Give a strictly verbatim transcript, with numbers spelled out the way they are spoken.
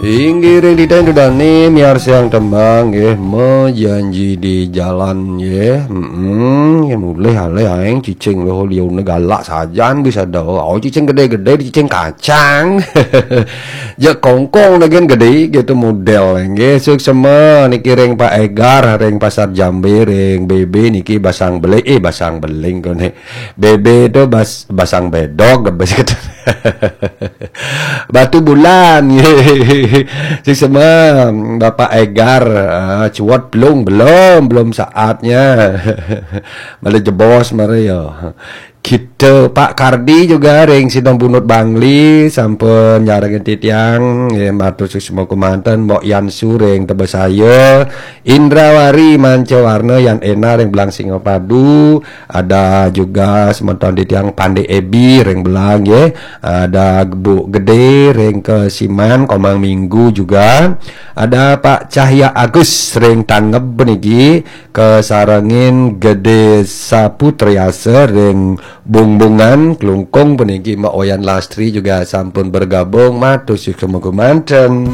Inggih ring titiang Ida Dane miarsiang tembang nggih, Mejanji di Jalan nggih. Heeh, nggih mulih alih aing cicing lho liune galak sajan bisa do. Oh, cicing gede-gede, cicing kacang. Ya kongkong dengan gede gitu model nggih. Suksema niki ring Pak Egar ring Pasar Jambe, ring B B niki basang beling, eh, basang beling kone. B B itu bas, basang bedog, bas gitu. Batu Bulan. Suksema Bapak Egar, ah, cuot belum, belum, belum saatnya. Malah jebos mari ya. Kita Pak Kardi juga ring Sidong Bunut Bangli sampun nyarengin titiang, nggih, matur suksma kemanten. Mbok Yansu ring Tebesaya, Indrawari Mancawarna, Yan Ena ring Belang Singapadu, ada juga semeton titiang Pande Ebi ring Belang nggih, ada Bu Gede ring Kesiman, Komang Minggu juga, ada Pak Cahya Agus ring Tangeb niki, kasarengin Gede Saputriasa ring Bungbungan, Klungkung puniki, Mbak Wayan Lastri juga sampun bergabung, matur suksma kemanten.